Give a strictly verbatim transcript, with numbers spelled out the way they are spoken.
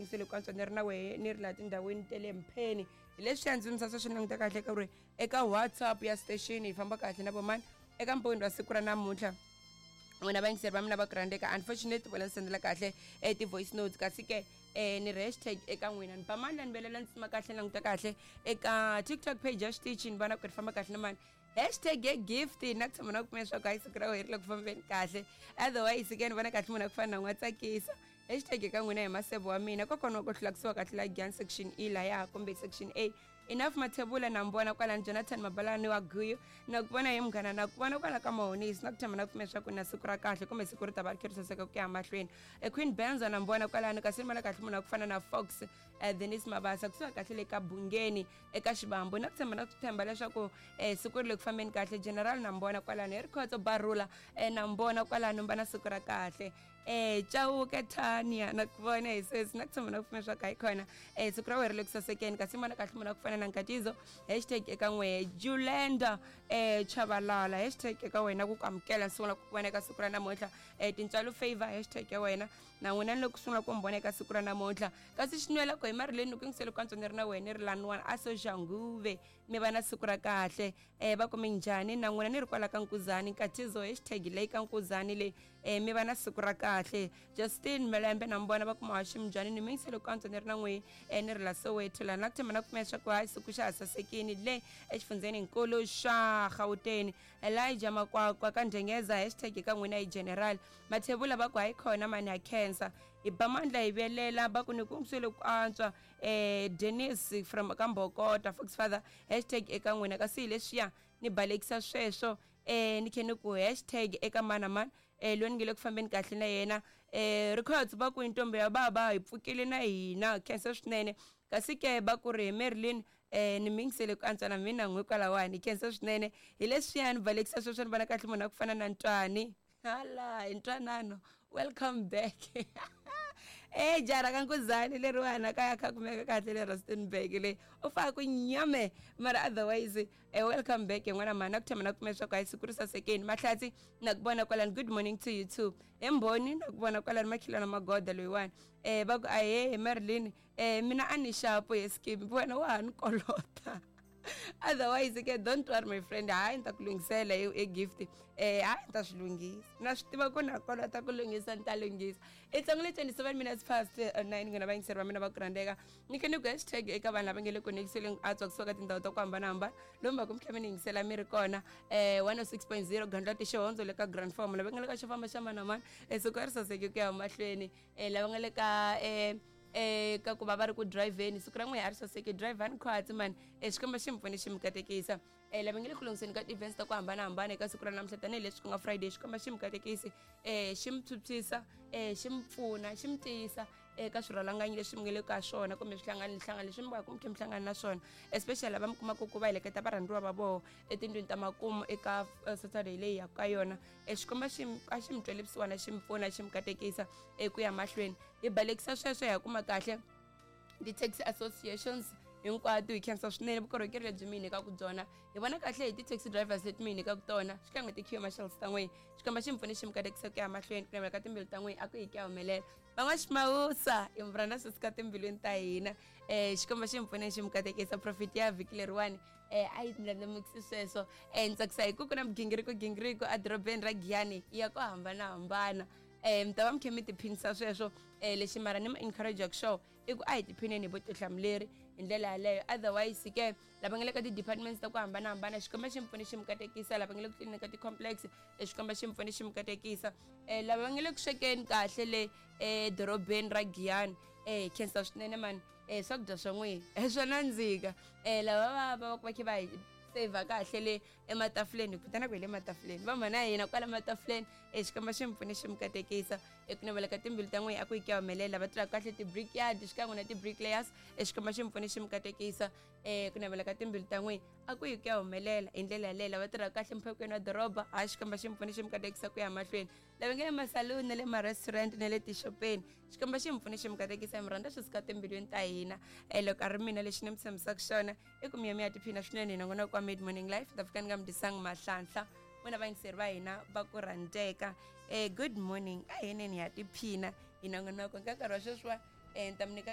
Se loko antswa ni ri na wehe ni ri laha tindhawini ta le Mpheni. Hi leswiya ndzi misasa swi languta kahle ka ri eka WhatsApp ya station hi famba kahle na vomani eka mpfuni wa siku ra namuntlha. N'wina vayingiseri va mina va ku rhandzeka, unfortunately vona ndzi sendela kahle e ti-voice notes, kasi ke eh ni ri hashtag eka n'wina ni ba mani la ni velela ni tsima kahle languta kahle eka TikTok page ya xitichi ni vona ku ri famba kahle na mani hashtag ya gift na ku tshama na ku kumela leswaku hayi siku ra wena ri le ku fambeni kahle. Otherwise ke ni vona kahle munhu a ku fana na n'wa tsakisa hashtag eka n'wina hi masebo wa mina kokwana wa ku hlulakisiwa kahle la Giyani section E laya kumbe section A. Enough Mathebula na mbona kwalani Jonathan Mabalani wa Guyu na ku vona hi munghana na ku vona kwala ka Mahonisi na ku tshama na ku pfumela leswaku na siku ra kahle kumbe siku ri ta va ri kha ri saseka ku ya mahlweni. E Queen Benzo na mbona kwalani kasi ni vona kahle munhu wa ku fana na Fox eh, Denis Mabasa kusuka kahle le ka Bungeni eka Xibambu na ku tshemba na ku tshemba leswaku eh, siku ri le ku fambeni kahle. General na mbona kwalani hi Rikhotso Barula eh, na mbona kwalani mba na siku ra kahle. Eh Chauke Tania na ku vona hi sweswi na ku tshemba na ku pfumela leswaku hayi khona eh siku ra wena ri le ku sasekeni kasi ni vona kahle munhu wa ku fana na Nkatizo hashtag eka n'wehe Julenda eh Chabalala hashtag eka wena ku ku amukela sungula ku vona eka siku ra namuntlha. Eh Tintswalo Favor hashtag ya wena na n'wina ni loko sungula ku mi vona eka siku ra namuntlha. Kasi xinwela ku hi marileni ku yingisele ku antswa ni ri na wena ni ri laniwani a Soshanguve mi va na siku ra kahle. Eh va kume njhani na n'wina ni ri kwala ka Nkuzani Nkatizo hashtag leyi ka Nkuzani leyi eh mi va na siku ra kahle. Justin Melembe na mbona va kuma Hashim njhani ni mi yingisele ku antswa ni ri na n'wehe eh ni ri la Soweto la na ku tshemba na ku pfumela leswaku hayi siku xa ha sasekini le exifundzheni nkulu xa Gauteng. Elijah Makwakwa ka Ndengeza hashtag ka n'wina hi General Mathebula va ku hayi khona mani ha khensa hi ba mandla hi velela va ku ni ku ngisele ku antswa. Eh Dennis from ka Mbokota Fox Father hashtag eka n'wina kasi hi leswiya ni balekisa sweswo eh ni khe ni ku hashtag eka mana mani eh loyi ni nge le ku fambeni kahle na yena. Eh Rikhotso va ku intombi ya baba hi pfukile na hina khensa swinene kasi ke va ku ri hi Marilyn eh ni mingisele ku antswa na mina n'wi kwalawani khensa swinene hi leswiya ni balekisa sweswo ni vona kahle munhu a ku fana na Ntwani hala hi Ntwanano welcome back. Eh jara ka Nkuzani leriwana kaya kha kumeka kahle le Rustenburg le u faka ku nyame mara otherwise eh welcome back n'wana mhana ku tshama na kumela leswaku hayi siku ri sasekeni. Mahlatsi na ku vona kwalani good morning to you too. Emboni na ku vona kwalani makhilana magoda loyiwani eh va ku ahe Marilyn eh mina a ni xapo ye skip wena wa ha ni kolota. Otherwise ke don't worry my friend hayi ni ta ku lunghisela e gift eh hayi ni ta swi lunghisa na swi tiva ku na kolota ku lunghisa ni ta lunghisa. It's only twenty-seven minutes past nine n'wina vayingiseri va mina va ku rhandzeka ni khe ni ku hashtag eka vanhu lava nge le ku nikiseleni antswa kusuka ka tindhawu ta ku hambanahambana lomu va ku mi tlhela mi ni yingisela mi ri kona eh one oh six point zero Gandlati Xihondzo le ka Grand Form lava nga le ka xo famba xa mani na mani eh siku ri saseke ku ya mahlweni eh lava nga le ka eh eh ka ku va va ri ku driveni siku ra n'we a ri saseke driver ni khwatsi mani eh xikwembu xi mi pfune xi mi katekisa. Eh lava nge le ku lunghiseni ka ti-events ta ku hambanahambana eka siku ra namuntlha tanihileswi ku nga Friday xikwembu xi mi katekisi eh xi mi phyuphyisa eh xi mi pfuna xi mi tiyisa eka swirhalanganyi leswi mi nge le ka swona kumbe swihlangani hlangani leswi mi va ku mi kha mi hlangana na swona especially lava mi kumaka ku va heleketa varhandziwa va vona etindlwini ta makumu eka Saturday leyi ya ka yona. Eh xikwembu xi a xi mi twele vusiwana xi mi pfuna xi mi katekisa eku ya mahlweni hi balekisa sweswo hi ya kuma kahle ti-taxi associations hinkwato hi khensa swinene vukorhokeri lebyi mi hi nyikaka byona hi vona kahle hi ti-taxi drivers leti mi hi nyikaka tona xikan'we ti-queue marshals ta n'wina xikwembu xi mi pfune xi mi katekisa ku ya mahlweni ku navela ka timbilu ta n'wina a ku hi ku ya humelela van'waximawusa hi mi rhandza sweswi ka timbilwini ta hina eh xikwembu xi mi pfune xi mi katekisa profit ya vhiki leriwani eh a yi ndlandlamukisi sweswo eh ni tsakisa hi ku ku na migingiriko gingiriko edorobeni ra Giyani ya ku hambanahambana eh mi ta va mi kha mi tiphinisa sweswo eh lexi mara ni mi encourage xo i ku a hi tiphineni hi vutihlamuleri hi ndlela yaleyo. Otherwise ke lava nga le ka ti-departments ta ku hambanahambana xikwembu xi mi pfune xi mi katekisa lava nga le ku tliliniki ka ti-complex xikwembu xi mi pfune xi mi katekisa eh lava nga le ku swekeni kahle le edorobeni ra Giyani eh khensa swinene mani eh swakudya swa n'wina swa nandzika eh lava va va va kha va hi save kahle le ematafuleni ku vitana ku hi le matafuleni va mhana hina kwala matafuleni eh xikwembu xi mi pfune xi mi katekisa eku navela ka timbilu ta n'wina a ku yi ku ya humelela va tirhaka kahle ti-brickyard xikan'we na ti-bricklayers xikwembu xi mi pfune xi mi katekisa eh ku navela ka timbilu ta n'wina a ku yi ku ya humelela hi ndlela yaleyo lava tirhaka kahle mphakweni wa doroba hayi xikwembu xi mi pfune xi mi katekisa ku ya mahlweni lava nga le masaluni na le ma-restaurant na le tixopeni xikwembu xi mi pfune xi mi katekisa mi rhandza swi suka timbilwini ta hina eh loko a ri mina lexi ni mi tshembisaka xona i ku mi ya mi ya tiphina swinene hi nongonoko wa Mid Morning Life ta fika ni nga mi dyisanga mahlanhla n'wina vayingiseri va hina va ku rhandzeka eh good morning a hi neni ya tiphina hi nongonoko ka nkarhi wa sweswiwa eh ni ta mi nyika